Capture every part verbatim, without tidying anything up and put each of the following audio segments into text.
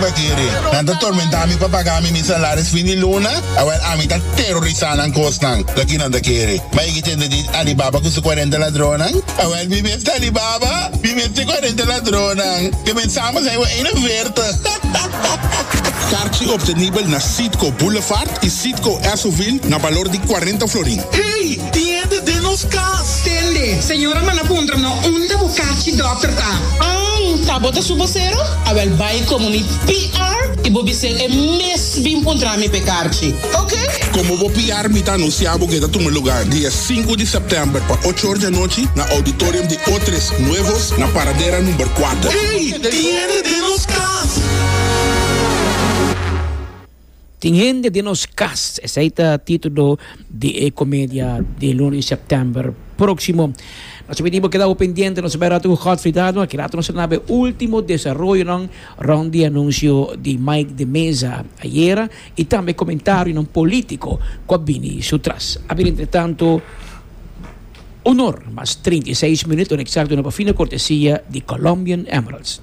Bo ta kere? Nan ta tormentá mi pa paga mi mi salaris fin di luna? Awèl, ami ta terorisá nan kosnan. Loke nan ta kere. Ma e tende di Alibaba ku su kuarenta ladronnan? Awèl, mi mes Alibaba, mi mes kuarenta ladronnan. Ke pensamos ei eenenveertig. Karchi optenibel na Citgo Boulevard i Citgo Essoville na balor di kuarenta florin. Hey, tin den nos kas. Tende, señora manda puntra no, unda bo karchi dòkter ta? Ah, ta bo ta su bosero? Awèl bai komo mi P R i bo bis'é e mes bin puntra mi p'e karchi. Ok? Komo bo P R mi ta anunsiá ku ta tuma lugá dia sinku di sèptèmber pa ocho or di anochi na auditorium di Otres Nuevos na Paradera number kuater. Hey, tin den nos kas. Tin hende den nos kas. Esei ta título di e komedia di luna di sèptèmber próksimo. Nos ta pidi keda pendiente, nos ta bai ku Godfrey Dado, aki ratu nos na último desaroyonan rònt di anunsio di Mike de Meza ayera i tambe komentarionan polítiko ku a bini su tras. A entre tantu, un or mas trinta i seis minüt, eksakto na fina kortesia di Colombian Emeralds.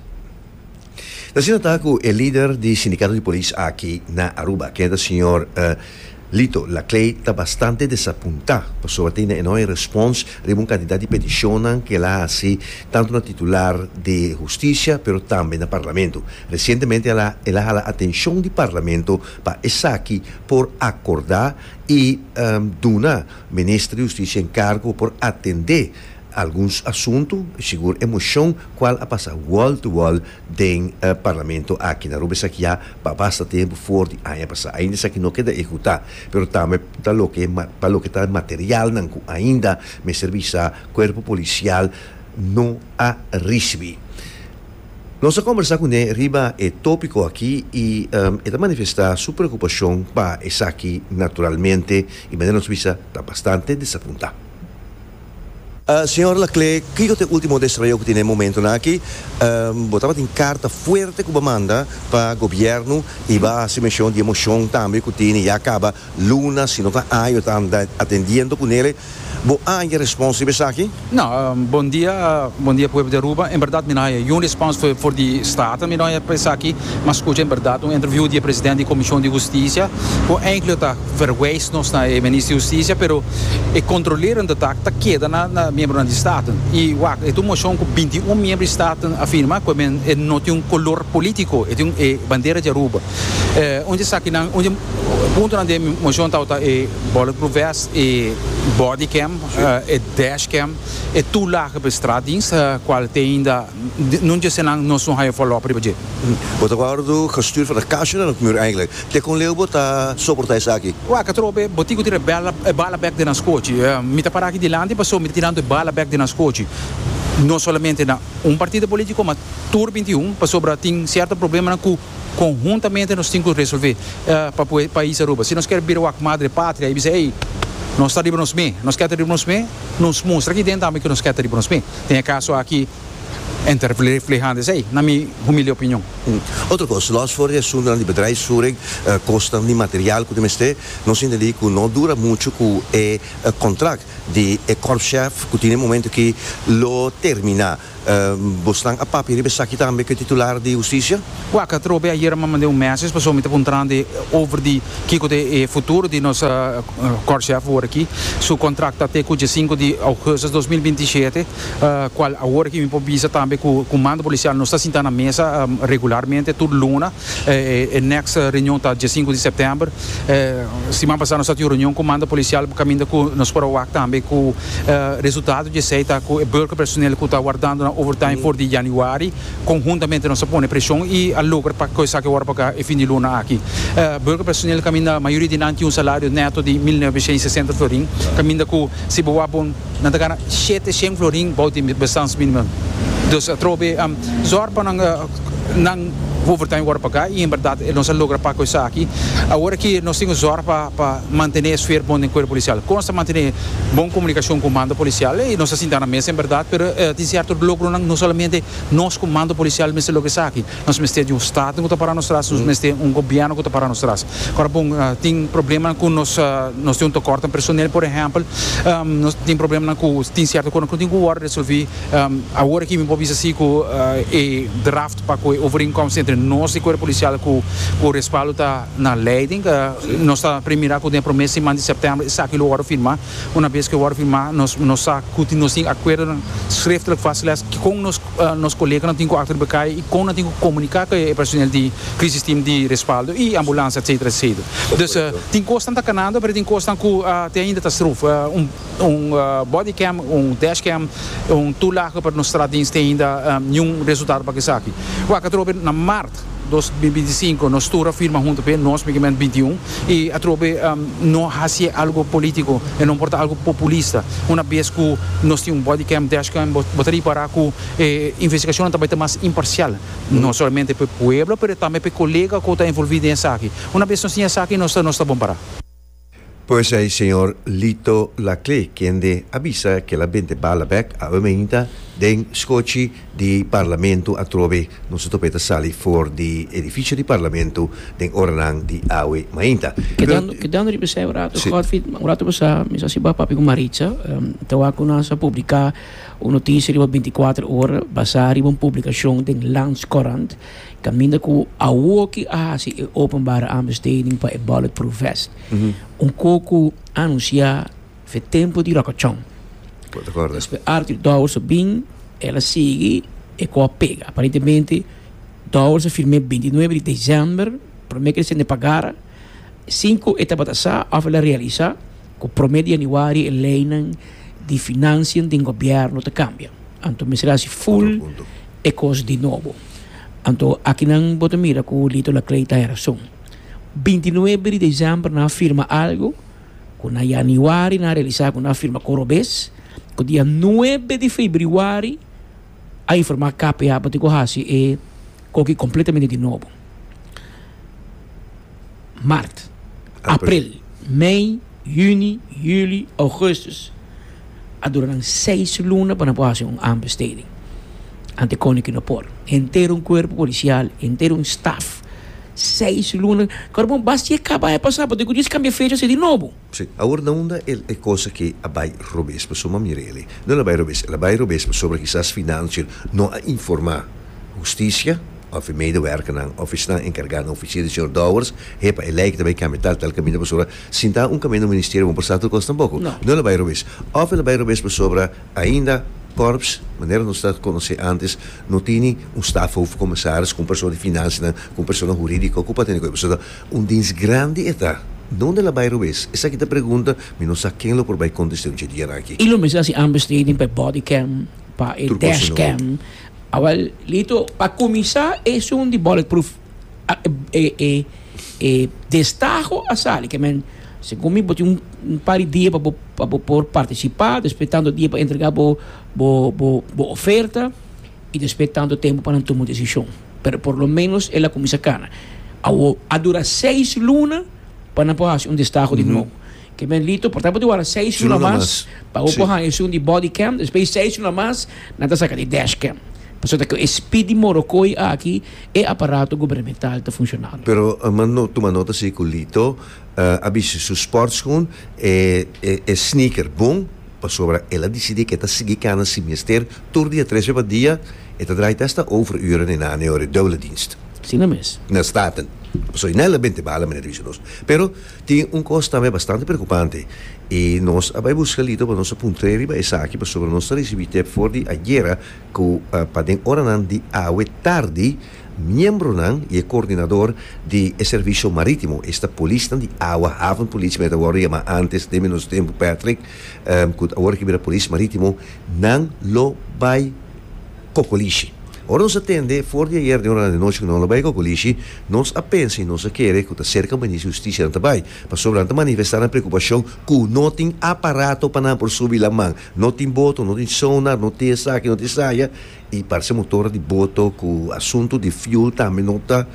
Asina ta ku e lider di sindikato di polis aki na Aruba, ku ta señor uh, Lito Laclé, ta bastante desapuntá pasobra tin e no respons riba un kantidat di petishon ku el a hasi tantu na titular di hustisia, pero tambe na parlamento. Resientemente el a el a hala atenshon di parlamento pa esaki por akordá i um, duna minister di hustisia enkargo por atendé algun asuntu, sigur e moshon kual a pasa wall to wall den uh, parlamento aki na Aruba esaki ya pa basta tempu for di aña pasá. Ainda esaki no a keda ehekutá, pero tambe ta loke pa loke ta materialnan ku ainda mester bisa kuerpo polisial no a risibí. Nos a kombersá kuné riba e tópiko aki i um, e ta manifestá su preokupashon pa esaki naturalmente i manera nos bisa ta bastante desapuntá. Uh, señor Laclé, kiko ta e último desaroyo ku tin e momentonan aki? Um, bo tabatin karta fuerte ku bo a manda pa gobièrnu i bo a hasi menshon di e moshon tambe ku tin ya kaba luna, si no ta aña ta anda atendiendo kuné. Bo a haña respons esaki? Nou, um, bon dia, uh, bon dia, pueblo di Aruba. En bèrdat, mi no a un respons for, for di Staten, mi no a pensa aki, ma skucha en bèrdat un interview di presidente di Komishon di Hustisia, ku eigenlijk ta verwijst nos na minister di Hustisia, pero e kontrolerende taak ta keda na, na miembro di Staten. I wak, e un moshon ku binti un miembro di Staten a firma, ku e no tin un koló polítiko, e tin e bandera di Aruba. Eh, unda esaki nan, unda punto na moshon ta ta e bulletproof vest, e bodycam, uh, e dashcam, e toelage bij straatdienst, uh, kual te ainda no dje nan no son haya follow-up riba dje. Bo ta wòrdu gestuurd van de kastje naar het muur eigenlijk. Te kon leu bo ta soportá esaki? Wak, atrobe, bo tin ku tira bala, bala bèk den skochi. Uh, mi ta para aki dilanti, paso mi ta tirando bala bèk den skochi. No solamente na un partido polítiko, ma tur binti un, pasobra tin sierto problema ku konhuntamente nos tin ku resolvé uh, pa e pais Aruba. Si nos ke bira wak madre patria i bisa, hey, nos ta riba nos mes, nos ke riba nos mes, nos mustra aki den tambe ku nos ke riba nos mes. Den e kaso aki, ta reflehando esei, na mi humilde opinion. Hmm. Otro kos, los for di asuntu di bedrijfsvoering, uh, kosten di material ku mester, nos a entendé ku no dura muchu ku e uh, kontrakt di e korpschef ku tin e momento ku lo terminá. Um, Bo a papia riba esaki tambe ku titular di hustisia? Wak, atrobe ayera mi a manda un message, paso mi ta puntrando over di kiko ta e futuro di nos uh, korpschef awor aki. Su kontrakt te ku sinku di ougùstùs dos mil binti shete, uh, kual awor aki mi por bisa tambe ku komando polisial nos ta sintá na mesa um, regularmente tur luna. Eh, e next reunion ta dia sinku di sèptèmber. Eh, siman pasá nos tabatin reunion ku komando polisial kaminda ku nos por wak tambe ku uh, resultado di esei ta ku e burgerpersoneel ku ta wardando na overtime for di yanüari, konhuntamente nos a pone preshon i a logra pa ku esaki awor pa e fin di luna aki. Uh, burgerpersoneel kaminda mayoria di nan tin un salario neto di mil noveshent sesenta florin, kaminda ku si bo bon nan ta gana shete florin bou di bestaansminimum. Dus atrobe um, zorg pa nan uh, nan overtime wòrdu pagá i en bèrdat nos a logra pa esaki. Awor aki nos tin zorg pa pa mantené e sfera bon den kuerpo polisial. Kon ta mantené bon komunikashon ku komando polisial i nos asina na mesa en bèrdat, pero uh, tin sierto logro no solamente nos komando polisial mester logra esaki. Nos mester di un estado ku ta para nos tras, nos mester un gobièrnu ku ta para nos tras. Awor bon, uh, tin problema ku nos uh, nos tin un tekort personal, por ehèmpel, um, nos tin problema ku tin sierto kos ku tin ku resolvé. Um, awor aki mi por bisa ku uh, e draft pa e overeenkomst entre entre nos y cuerpo policial cu cu Respaldo ta na leiding. Uh, nos ta premira cu den prome siman di september esaki lo wordo firma. Un biaha cu wordo firma, nos nos sa cu nos tin acuerdo schriftelijk vastgelegd cu nos uh, nos coleganan tin cu achter elkaar y con nan tin cu comunica cu e personeel di crisisteam di Respaldo y ambulance, et cetera et cetera. Dus uh, tin cos ta canando, pero tin cos cu uh, tin ainda ta stroef. Uh, un un uh, bodycam, un dashcam, un toelage pa nos straatdienst ainda um, ningun resultado pa esaki. Wak atrobe na maart dos mil binticinco nos tur a firma hunto pa nos bintiun y atrobe um, no haci algo politico y no por ta algo populista. Un biaha cu nos tin un bodycam, dashcam, bo ta ripara cu eh, investigacion tambe ta mas imparcial, no solamente pa e pueblo, pero tambe pa e colega cu ta envolvi den esaki. Un biaha nos tin esaki, nos nos ta bon para. Pues ey, señor Lito Laclé, kende a bisa cu el a benta bala bek awe mainta den scochi di Parlamento atrobe. Nos a topa ta sali for di edificio di Parlamento den oranan di awe mainta. Kedando, kedando riba esey un rato, Si. Godfried, un rato pasa, mi sa si bo a papia cu Maritza, um, tawa cu nan a publica un noticia riba binticuater Ora, basa riba un publicacion den Landscourant, caminda cu awoki a hasi e openbare aanbesteding pa e bulletproof vest. Un cos cu a anuncia fe tempo di Rocochon. Di acuerdo. Despues Arthur Dowers bin, el a sigui e cos a pega. Aparentemente, Dowers a firma bintinuebe di december, prome cu e paga, cinco etapa sa, of el a realisa, cu prome di januari e leynan di financiën di gobierno ta cambia. Anto, mester hasi full Punto. e cos di nobo. Anto, akinan bo ta mira cu Lito Laclé tin rason. bintinuebe di december nan a firma algo, cu na januari nan a realisa cu nan a firma cos robes, cu dia nuebe di februari a informa K P A pa cu hasi e cos completamente di nobo. Maart, april, mei, juni, juli, augustus. A dura seis luna pa por hasi un aanbesteding. Ante con no por. Henter un cuerpo policial, henter un staff. Seis luna. Awor, basta e caba e pasa, pasobra cu cambia fecha di nobo. Si. Awor na unda e, e cos cu a bay robes, pasobra mirele. No a bay robes, el a bay robes, pasobra kisas financiën no a informa husticia, of medewerkernan, of esnan encarga na oficina di señor Dowers, hepa, e lijkt daarbij kan tal tal caminho pasobra, sinta un caminho no ministerio, un por cos tampoco. No. No a bay robes. Of el a bay robes pasobra ainda Korps, manera nos ta conoce antes, no tin un staf of commissaris, cu persona di financiën, cu persona huridico, cu tin persona un dienst grandi ta. Unda el a bay robes? Esaki ta pregunta, mi no sa ken lo por bay contesta un dia aki. Y lo mester hasi aanbesteding pa bodycam, pa Tur cos dashcam. Awel, Lito, pa cuminsa, e un di bulletproof e, e, e, destaho a sali, kiermen, segun mi, bo tin un, un par di dia pa pa por participa, despues tanto dia pa entrega bo, bo, bo, bo oferta y despues tanto tempo pa tuma un decision. Pero por lo menos el a cuminsa cana. A, a dura seis luna pa por haci un destaho di nobo. Kiermen, Lito, por tanto, dura seis luna mas, pa Si. e un di bodycam, despues seis luna mas, nan ta saca di dashcam. Pasobra cu e speed di morocoi aki e aparato gubernamental ta funcionando. Pero uh, man no, tuma nota si cu Lito, uh, a bisti su sportschoen e, e, e sneaker bon, pasobra el a dicidi cu e ta sigui cana si mester, tur dia, tres pa dia, e ta draai hasta overuren in aan ore dubbele dienst. Asina mes. Na Staten. So, no a benta bala, meneer nos. Pero tin un cos tambe bastante preocupante. Y nos a bay busca Lito, pa nos puntra riba esaki, pasobra nos a ricibi tip for di ayera, cu uh, pa den oranan di awe tardi, miembronan y coordinador di servicio maritimo, esta polis di awa, havenpolitie, met wordo yama antes, den menos tempo, Patrick, um, cu awor cu bira polis maritimo, nan lo bay Cocolishi. Ora nos a tende, for di ayera di ora di anochi cu nan lo bay Cocolishi, nos a pensa y nos a kere cu ta cerca Ministro di Husticia nan ta bay. Pasobra nan ta manifesta nan preocupacion cu no tin aparato pa nan por subi laman, no tin boto, no tin sonar, no tin esaki, no tin esaya, y parce motor di boto cu asunto di fuel tambe no ta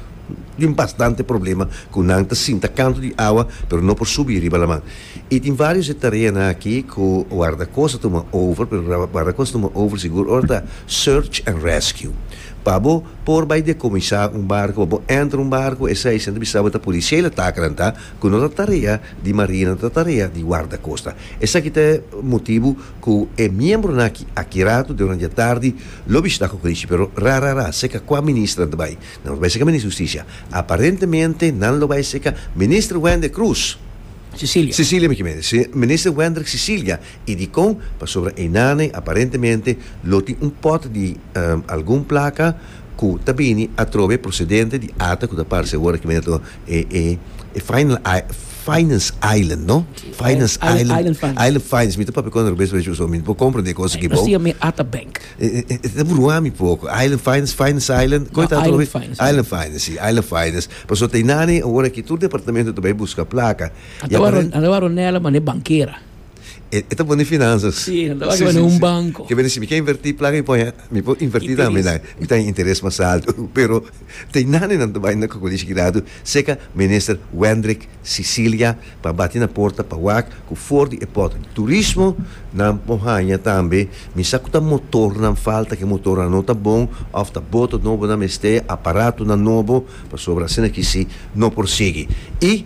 tin bastante problema cu nan ta sinta canto di awa, pero no por subi riba laman. Y tin varios tereno aki cu guarda costa tuma over, pero guarda costa tuma over sigur ora search and rescue. Pa bo por bai dekomisá un barku, bo entra un barku, esei semper bisa ta polisiële taak ta, ku no ta tarea di marina, ta tarea di guardacosta. Esaki ta motibu ku e miembronan aki aki ratu durante atardi lo bishitá Kokolishi, pero rara rara, serka kua minister nan bai. No bai serka minister di Hustisia. Aparentemente nan lo bai serka minister Wende Cruz. Cecilia. Cecilia mi ke minister Wendrick Cecilia i dikon pasobra einan aparentemente lo tin un pot di um, algun plaka ku ta bini atrobe prosedente di A T A, ku ta parse awor ku e e e final Finance Island, no? Finance Island, Island. Island Finance. Island Finance. Mi ta papia ku bes bes so mi por komprondé kos aki Nos bon. yama A T A Bank. E bruami poko. Island Finance, Finance Island. No, Coitado, Island Finance. Island Finance, si, Island Finance. Paso einan awor aki tur departamento tambe buska plaka. Anto anto Ronella mane bankera. E ta bon di finansas. Si, anto bai un banko. Ke si mi ke invertí plaka, mi por mi por invertí tambe, Interes. mi tin interes mas altu, pero einan nan tambe na Kokolishi kirado, serka minister Wendrick Cecilia pa bati na porta pa wak ku for di e pot turismo nan por haña tambe. Mi sa ku ta motor nan falta, ku motor no ta bon òf ta boto nobo nan mester, aparato nan nobo, pasobra asina aki si no por sigui. I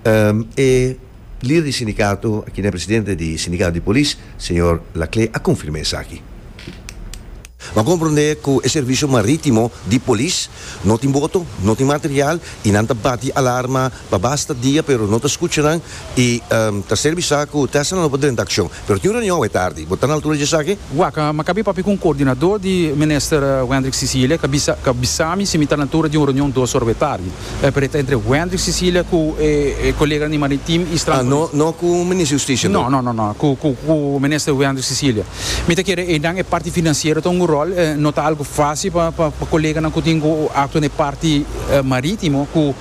um, e lider di sindikato, aki na presidente di sindikato di polis, señor Laclé, a konfirmá esaki. Ma komprondé ku e servisio marítimo di polis no tin boto, no tin material i nan ta bati alarma pa basta dia, pero no ta skuchando i um, ta servisio ku ta no por drenta akshon. Pero tin un reunion tardi, bo ta na altura di esaki? Wak, m'a kaba di papia ku koordinadó di minister Wendrick Cecilia, ku bisa ku bisa mi si mi ta na altura di un reunion dos or tardi. E pero entre Wendrick Cecilia ku e, e kolega di Maritiem i Ah, no, no ku minister di Hustisia. No, no, no, no, ku ku ku minister Wendrick Cecilia. Mi ta kere e dan e parti finansiero ta un ròl, eh, no ta algu fásil pa pa pa koleganan ku tin ku aktua na parti eh, marítimo ku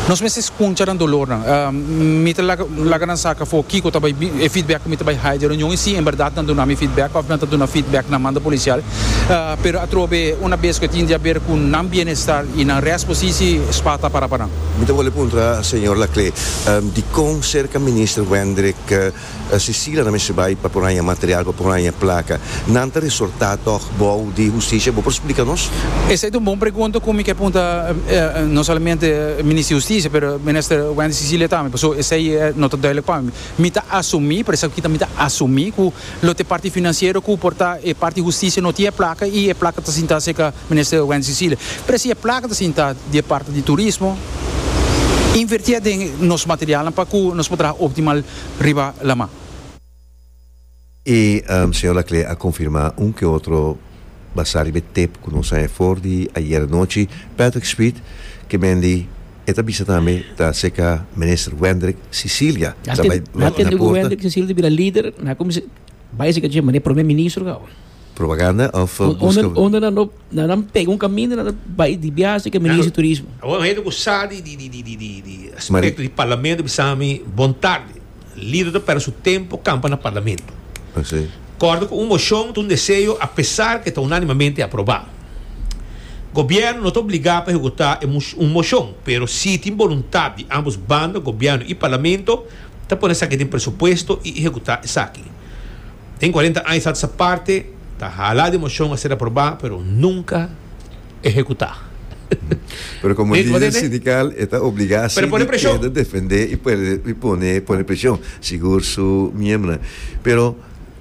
nos mester skucha nan dolor nan. Um, mi ta laga laga nan saka for kiko ta bai e feedback mi ta bai haya reunion i si en berdat nan duna mi feedback òf nan ta duna feedback na mando polisial. Uh, pero atrobe un bes ku tin di haber ku nan bienestar i nan responsabilidat spata para para. Mi ta bolbe puntra señor Laclé, um, dikon serka minister Wendrick uh, Cecilia nan mester bai pa por material, pa por plaka. Nan ta resortá toch bou di hustisia, bo por splika nos? Esei ta un bon pregunta ku mi ke puntra eh, no solamente minister di Hustisia, pero minister Wendrick Cecilia tambe. Paso esei no ta duidelijk pa mi. Mi ta asumí, por esaki mi ta asumí ku lo ta parti finansiero ku por ta e parti hustisia no tin plaka i e plaka ta sinta serka minister Wendrick Cecilia. Pero si e plaka ta sinta di parti di turismo, invertí den nos material pa ku nos por optimal riba laman. I um, señor Laclé a konfirmá un ku otro basá riba tep ku nos a for di ayera nochi. Patrick Speed ke men di e ta bisa tambe ta serka minister Wendrick Cecilia. Na tende Wendrick Cecilia bira lider, na komo bai se que mane promé minister gau. Propaganda òf Unda unda nan no nan pega un kaminda, nan bai di biahe ku minister di turismo. Awor hende ku sa di di di di di di di aspekto di parlamento bisa mi bon tardi. Lider ta pèrdè su tempu kampa na parlamento. Ah, si. Kòrda ku un moshon, un deseo, apesar ku ta unánimamente aprobá. Gobièrnu no ta obligá pa ehekutá un moshon, pero si tin boluntat di ambos banda, gobièrnu i parlamento, ta pone esaki den presupuesto i ehekutá esaki. Tin kuarenta aña e parti, ta hala di moshon a ser aprobá, pero nunka ehekutá. Pero komo lider sindikal, ta obligá Pero pone preshon. A defendé i pone, pone, pone preshon, sigur su miembro. Pero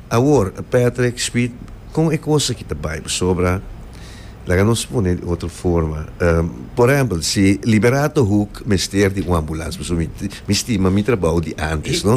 awor, Patrick Speed, kon e kos aki ta bai sobra, laga nos pone di otro forma. Um, por ehèmpel, si Liberato Hoek mester di un ambulans, mi, mi stima mi trabou di antes, no?